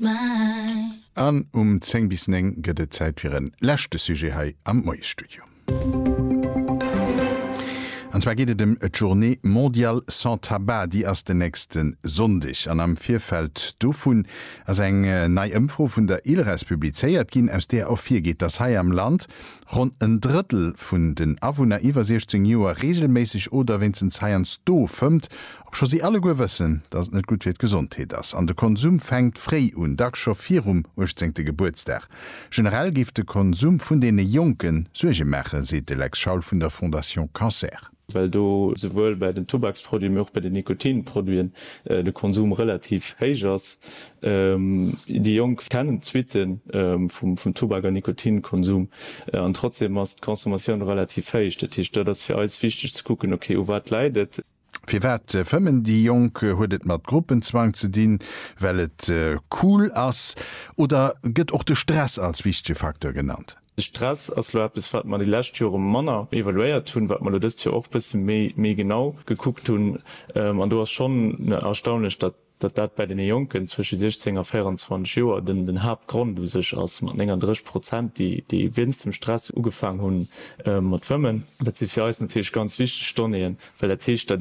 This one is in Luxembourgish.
An um 10 bis 9 gëtt et Zäit fir en leschte Sujet hei am Moiesstudio. An zwar geet et ëm d'Journée mondiale sans tabac. Déi ass den nächste Sonndeg. An am Virfeld dovun ass eng nei Ëmfro vun der ILRES publizéiert ginn, aus där ervirgeet, dass hei am Land ronn en Drëttel vun den Awunner iwwer 16 Joer reegelméisseg oder wéinstens heiansdo fëmmt, obscho si alleguer wëssen, dass et net gutt fir d'Gesondheet ass. An de Konsum fänkt fréi un, dacks scho virum 18. Gebuertsdag. Generell géif de Konsum vun deene Jonke Suerge maachen, seet de Lex Schaul vun der Fondation Cancer. Well do souwuel bei den Tubaksproduiten, mee och bei den Nikotinproduiten de Konsum relativ héich ass. Déi Jonk kennen d'Suitte vum Tubak an Nikotinkonsum an trotzdem ass d'Consommatioun relativ héich. Dat heescht, dat ass fir eis wichteg ze kucken, okay, u wat läit et? Firwat fëmmen déi Jonk? Huet et mat Gruppenzwang ze dinn, well et cool ass? Oder gëtt och de Stress als wichtege Facteur genannt? De Stress ass elo eppes, wat mer déi lescht Jore manner evaluéiert hunn, wat mer elo dëst Joer och e bësse méi genau gekuckt hunn. An do ass schonn erstaunlech, datt dat bäi deene Jonken zwësche 16 a 24 Joer den Haaptgrond u sech ass, mat 39 Prozent, déi wéinst dem Stress ugefaang hu mat fëmmen. Dat si fir eis natierlech ganz wichteg Donnéeën, well dat heescht, datt ee.